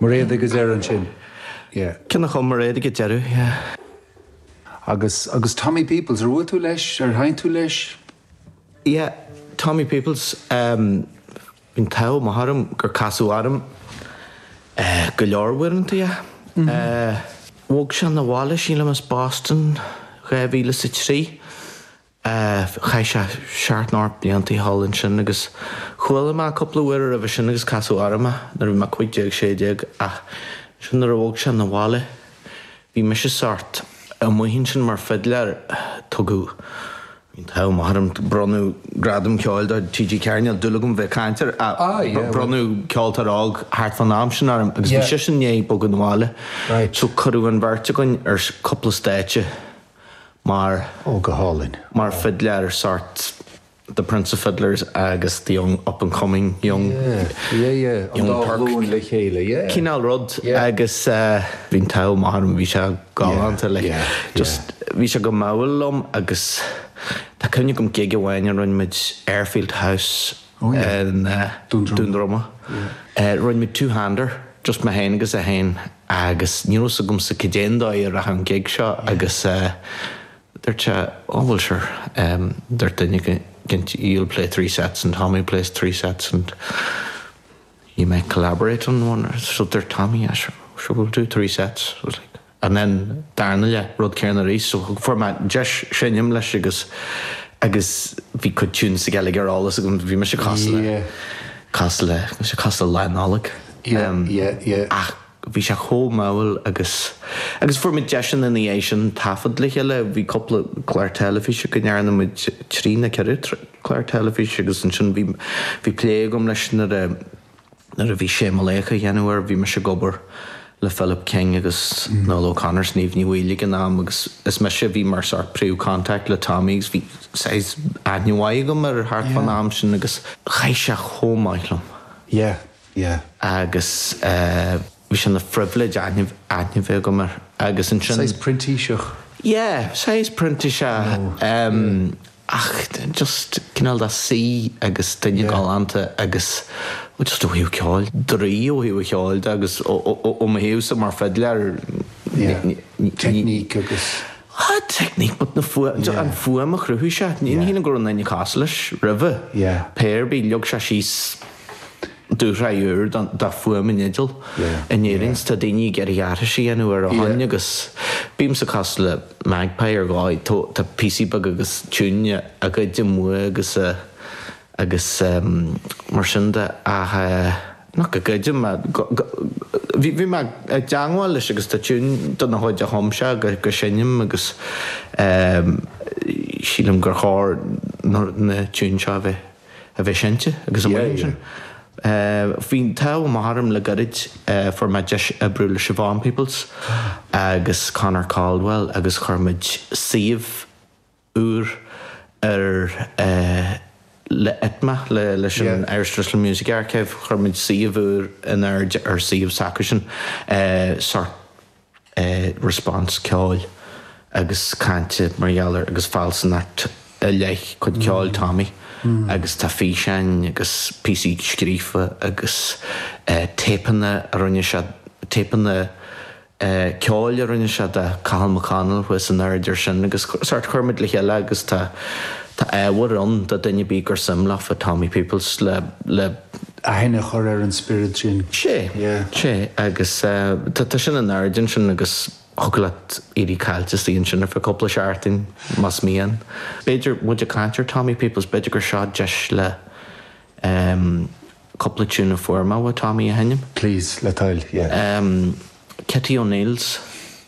Mairéad ag an deireadh ansin, yeah. Ceann a chum Mairéad ag an deireadh, yeah. Agus, agus Tommy Peoples, ar bhuail tú leis, ar sheinn tú leis? Yeah, Tommy Peoples, bhí an t-ádh maith orm gur casadh orm go leor uaireanta, yeah. Bhog sé 'na bhaile, sílim, as Boston 2003. Chaith sé seacht nó ocht blianta thall ansin agus chuala mé cúpla uair roimhe sin agus casadh orm é nuair a bhí mé 15, 16 ach ansin nuair a bhog sé 'na bhaile bhí mise sórt amuigh ansin mar fidléir. Tugadh, bhí an t-ádh maith orm, bronnadh gradam ceoil do TG4, níl dúil agam bheith ag caint air ach bronnadh ceoltóir óg thart fán am sin orm agus bhí seisean i ndiaidh bogadh 'na bhaile so cuireadh an bheirt againn ar cúpla stáitse mar. Ó, go hálainn. Mar fidléir sórt The Prince of Fiddlers agus the young up and coming young Yeah, yeah, yeah, an young dá Turk ghlúin le chéile, yeah. cineál rud Yeah. agus bhí an t-ádh maith orm, bhí sé galánta like Yeah, just bhí sé go mall liom agus tá cuimhne agam gig amháin a rinne muid Airfield House Oh yeah. in Dún Droma. Dún Droma. Rinne muid two-hander, just mé féin agus é féin agus ní raibh fhios agamsa cad é an dóigh a rachadh an gig seo agus dúirt sé, oh well sure, dúirt duine éicint you'll play three sets and Tommy plays three sets and you might collaborate on one so dúirt Tommy, yeah sure, sure we'll do three sets. I was like, and then darna leath, rud céanna arís so fuair mé deis seinm leis agus agus bhí cuid tunes aige uilig ar eolas agam, bhí mise cosúil le cosúil le bhí sé cosúil le Lá Nollag ach bhí sé chomh mall agus agus fuair muid deiseanna ina dhiaidh sin taifead le chéile, bhí cúpla clár teilifíse go ndearna muid trí nó ceithre clár teilifíse agus ansin bhí bhí plé agam leis nuair a Nuair a bhí Sé Mo Laoch á dhéanamh air, bhí mise ag obair le Philip King agus Noel O'Connor is Niamh Ní Bhaoill ag an am agus is mise a bhí mar sort príomh-contact le Tommy agus bhí saghas aithne mhaith agam air thart fán am sin agus chaith sé chomh maith liom. Yeah, yeah. Agus bhí sé ina phribhléid aithne aithne bheith agam air agus ansin. Saghas printíseach. Yeah, saghas printíseach. Ach just cineál de saoi agus duine galánta agus just ó thaobh ceoil, draoi ó thaobh an cheoil de agus ó mo thaobhsa mar fidléir Teicníc agus. Ah, teicníc but na fuaim, an fuaim a chruthaigh sé, ní shílim go raibh aon duine cosúil leis roimhe. Pé ar bith, leag sé síos dúshraith úr de fuaim an fhidil in Éirinn. Tá daoine ag iarraidh aithris a dhéanamh air ó shin agus bímse cosúil le magpie ar dhóigh. Tá píosaí beaga agus tiúin á ngoid amuigh agus agus mar sin de ach nach go gcuidim bhí mé i dteangmháil leis agus tá tiún de na chuid a chum sé go seinnim agus sílim gur chóir na tiúin seo a bheith a bheith seinnte agus amuigh ansin. Bhí an t-ádh maith orm le gairid, fuair mé deis oibriú le Siobhán Peoples agus Conor Caldwell agus chuir muid suíomh úr ar le ITMA, leis an Irish Traditional Music Archive, chuir muid suíomh úr in airde ar suíomh s'acusan, sort. response ceoil agus cainte mar gheall ar agus fealsúnacht i leith cuid ceoil Tommy agus tá físeáin agus píosaí scríofa agus téipeanna a rinne sé, téipeanna ceoil a rinne sé de Cathal McConnell thuas in airde ar sin agus sort chuir muid le chéile agus tá tá ábhar ann do duine ar bith gur suim leofa Tommy Peoples le le Aithne a chur ar an spiorad sin. Sé, sé, agus tá sin in airde ansin agus thiocfadh leat éirí caillte istigh ansin ar feadh cúpla seachtain más mian. B'fhéidir, muid ag caint ar Tommy Peoples, b'fhéidir gur seo deis le cúpla tune a fuair mé ó Tommy a sheinm. Please, le toil, yeah. Kitty O'Neill's,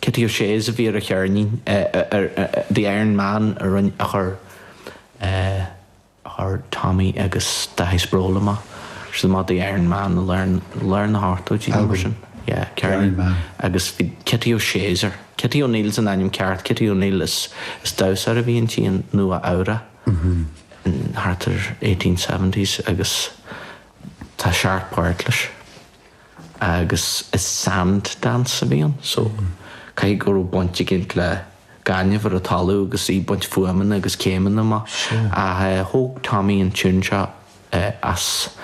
Kitty O'Shea's a bhí ar a cheirnín, ar The Iron Man a rinne, a chuir. Chuir Tommy agus Dáithí Sproule amach siad amach The Iron Man i lár lár na hochtóidí nó mar sin. Yeah, ceirnín. Agus bhí Kitty O'Shea's air. Kitty O'Neill's an ainm ceart, Kitty O'Neill is is damhsóir a bhí inti i Nua Eabhrac in thart ar 1870s agus tá seacht páirt leis. Agus is sand dance a bhí ann so caithfidh go raibh baint éicint le gaineamh ar an talamh agus í ag baint fuaimeanna agus céimeanna amach. Ach thóg Tommy an tune seo as.